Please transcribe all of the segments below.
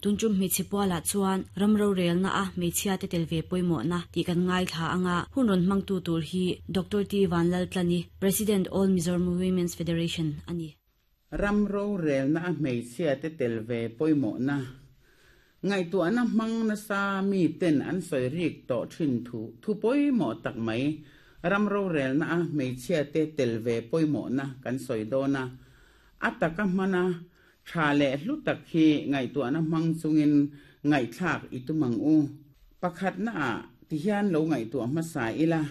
Tun tum hmeichhe pualah chuan ram rorelna a hmeichhia te tel ve pawimawhna tih kan ngaithla anga hun rawn hmangtu tur hi Doctor T Vanlaltlani, President All Mizoram Women's Federation a ni. Ram rorelna a hmeichhia te tel ve pawimawhna ngaihtuahna hmang nasa mi ten an sawi rik tawh thin thu thu pawimawh tak mai ram rorelna a hmeichhia te tel ve pawimawhna kan sawi dawn a, a taka hmana Tha leh hlu tak hi ngaihtuahna hmang chungin ngaihthlak i tum ang u. Pakhatnaah tihian lo ngaihtuah hmasa ila,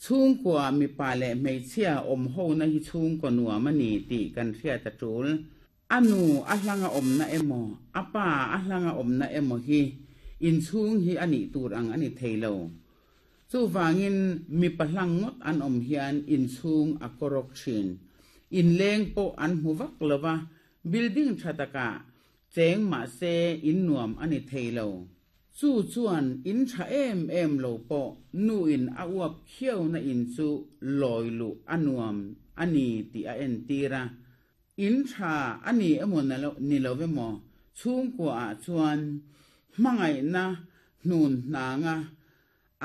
chhungkua mipa leh hmeichhia awm hona hi chhungkaw nuam a ni tih kan hriat a tul. A nu a hlanga awmna emaw, a pa a hlanga awmna emaw hi inchhung hi a nih tur ang a ni thei lo. Chuvangin mipa hlang ngawt an awm hian inchhung a kawrawk thin. Inleng pawh an hmu vak lo va, building tha takah cheng mahse in nuam a ni thei lo. Chu chuan in tha em em lo pawh nuin a uap khiauna in chu lawi luh a nuam a ni tih a entir a. In tha a ni emaw ni lo emaw chhungkuaah chuan hmangaihna hnun hnanga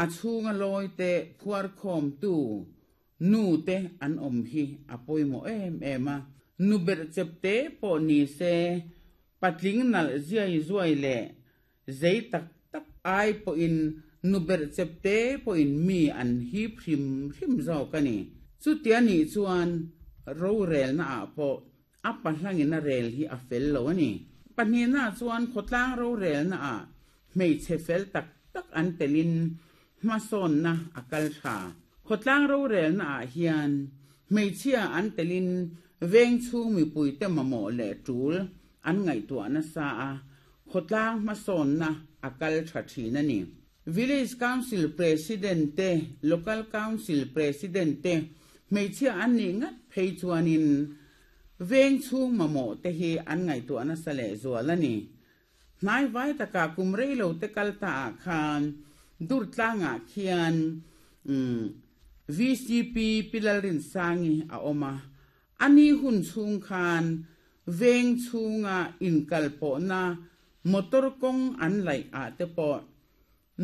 a chhunga lawi te phuarkhawmtu nu te an awm hi a pawimawh em em a. Nu berh chep te pawh ni se patling nalh ziai zuai leh zei tak tak ai pawhin nu berh chep te pawhin mi an hip hrim hrim zawk a ni. Chutia nih chuan rorelna ah pawh A pahlangin a rel hi a fel lo a ni. Pahnihna chuan khawtlang rorelna ah hmeichhe fel tak tak an telin hmasawnna a kal tha. Khawtlang rorelna ah hian hmeichhia an telin veng chhung mipuite mamawh leh tul an ngaihtuah nasa a, khawtlang hmasawnna a kal tha thin a ni. Village Council President te, Local Council President te Hmeichhia an nih ngat phei chuanin veng chhung mamawh te hi an ngaihtuah nasa leh zual a ni. Hnai vai takah kum rei lo te kal ta ah khan Durtlangah khian VCP Pi Lalrinsangi a awm a, a ni hun chhung khan veng chhunga inkalpawhna motor kawng an laih ah te pawh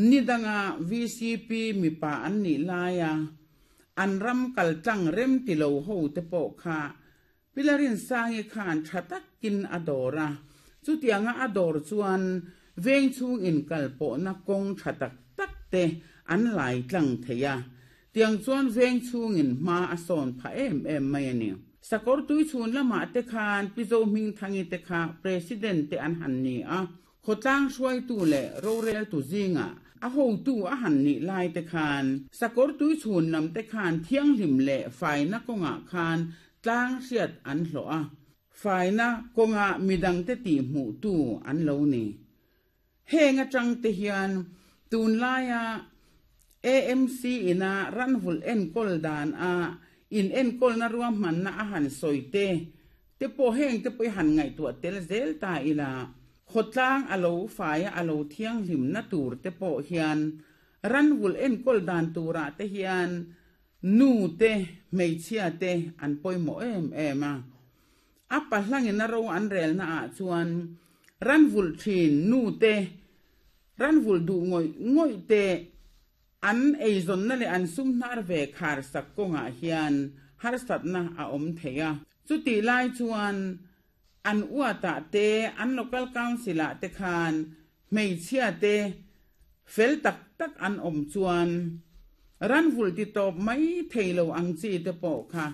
Ni danga vcp mipa an nih laia an ram kal tlang rem ti lo ho te pawh kha Pi Larinsangi khan tha takin a dawr a, chutianga a dawr chuan veng chhung inkal pawhna kawng tha tak tak te an lai tlang thei a, tiang chuan veng chhungin hma a sawn phah em em mai a ni. Sakawr tui chhun lamah te khan Pi Zohmingthangi te kha President te an han ni a, Khawtlang hruaitu leh roreltu zingah a hotu a han nih lai te khan sakawr tui chhun lam te khan thianghlim leh faina kawngah khan tlang hriat an hlawh a, faina kawnga midangte tihhmuhtu an lo ni. Heng atang te hian tunlaia AMC ina ranvulh enkawl dan a in enkawlna ruahmanna a han sawi te te pawh heng te pawh i han ngaihtuah tel zel ta ila, khawtlang a lo fai a, a lo thianghlimna tur te pawh hian ranvulh enkawl dan turah te hian nu te, hmeichhia te an pawimawh em em a. A pahlangin a ro an relna ah chuan ranvulh thin nu te, ranvulh duh ngawih ngawih te, An eizawnna leh an sum hnar ve khar sak kawngah hian harsatna a awm thei a. Chutih lai chuan an uatah te, an local council ah te khan hmeichhia te fel tak tak an awm chuan ranvulh ti tawp mai thei lo ang chi te pawh kha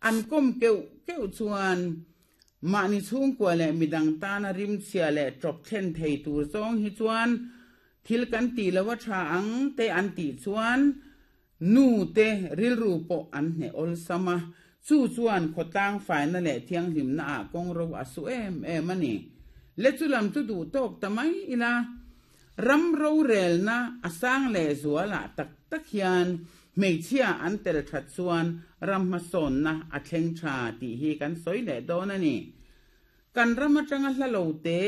an kawm keuh keuh chuan mahni chhungkua leh midang tana rimchhia leh tawp thlen thei tur zawng hi chuan Thil kan tih lo a tha ang te an tih chuan nu te rilru pawh an hneh awlsam a, chu chuan khawtlang faina leh thianghlimna ah kawngro a su em em a ni. Le chu lam chu duh tawk ta mai ila, ram rorelna a sang leh zual ah tak tak hian hmeichhia an tel that chuan ram hmasawnna a thleng tha tih hi kan sawi leh dawn a ni. Kan ram atanga hla lo te.